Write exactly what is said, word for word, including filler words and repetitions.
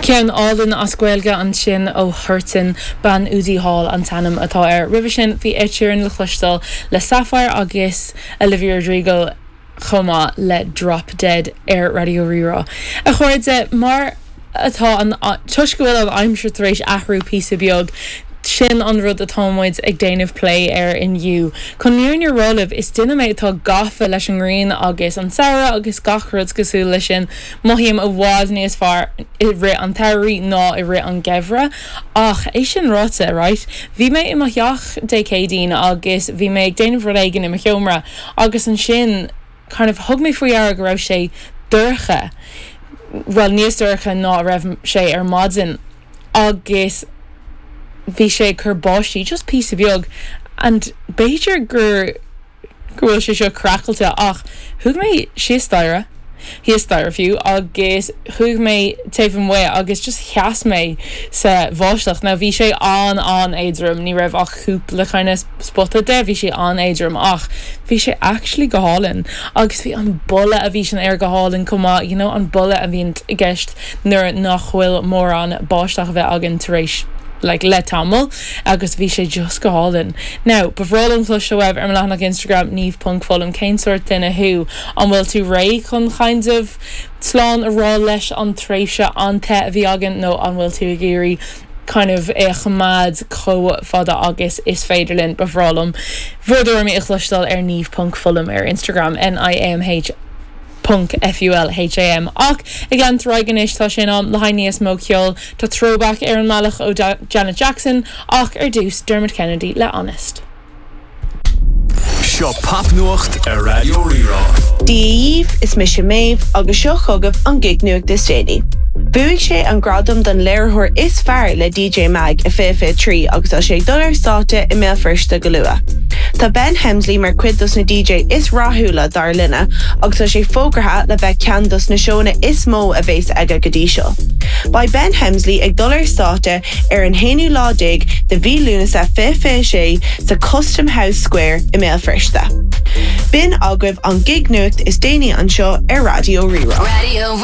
Ceann álainn as Gaeilge ansin ó Huartan Bean Údaí Thall an t-ainm atá air. Roimhe sin bhí Ed Sheeran le cloisteáil le Sapphire agus Olivia Rodrigo chomh maith le Drop Dead ar Raidió Rí-Rá. A chairde mar atá an toisc go bhfuil an aimsir tar éis athrú píosa beag, sin an rud atá muid ag déanamh plé air inniu. Chun an fhírinne a rá libh is duine mé atá gafa leis an ngrian agus an samhradh agus gach rud cosúil leis sin mothaím i bhfad níos fearr i rith an tsamhraidh ná i rith an gheimhridh ach é sin ráite right Bhí mé i mo theach Dé Céadaoin agus bhí mé ag déanamh rud éigin i mo sheomra agus ansin kind of thug mé faoi deara go raibh sé dorcha well níos dorcha ná a raibh sé ar maidin agus bhí sé cur báistí just píosa beag and b'fhéidir gur go bhfuil sé seo craiceáilte ach chuaigh mé síos staighre thíos staighre fiú agus chuaigh mé taobh amuigh agus just sheas mé sa bháisteach now bhí sé an an-éadrom ní raibh ach cúpla kind of spota de bhí sé an-éadrom ach bhí sé actually go hálainn agus bhí an boladh a bhí san aer go hálainn chomh maith you know an boladh a bhíonn i gceist nuair nach bhfuil mórán báisteach a bheith againn tar éis like, le tamall agus bhí sé just go hálainn. Now, ba bhreá liom cloisteáil uaibh ar mo leathanach Instagram niamh.fulham cén sórt duine thú an bhfuil tú réidh chun kind of slán a rá leis an tréimhse an-te a bhí againn nó an bhfuil tú ag iarraidh kind of é a choimeád chomh fada agus is féidir linn ba bhreá liom. Bhur dtuairimí a chloisteáil ar niamh.fulham ar Instagram NIAMH Ponc FULHAM ach ag leanúint anois tá sé in am le haghaidh níos mó ceoil tá throwback ar an mbealach ó Janet Jackson ach ar dtús Dermot Kennedy le Honest. Seo popnuacht ar Raidió Rí-Rá. Dia daoibh is mise Méabh agus seo chugaibh an gig nuacht is déanaí. Bhuaigh sé an gradam don léiritheoir is fearr le DJ Mag i fiche fiche trí agus tá sé ag dul ar stáitse i mBéal Feirste go luath. Tá Ben Hemsley mar chuid dos na DJ is rathúla dár linne agus tá sé fógartha le bheith ceann dos na seónna is mó a bheas aige go dtí seo. Beidh Ben Hemsley ag dul ar stáitse ar an haonú lá déag de mhí Lúnasa fiche fiche sé sa Custom House Square i mBéal Feirste. B'in agaibh an gig nuacht is déanaí anseo ar Raidió Rí-Rá. Radio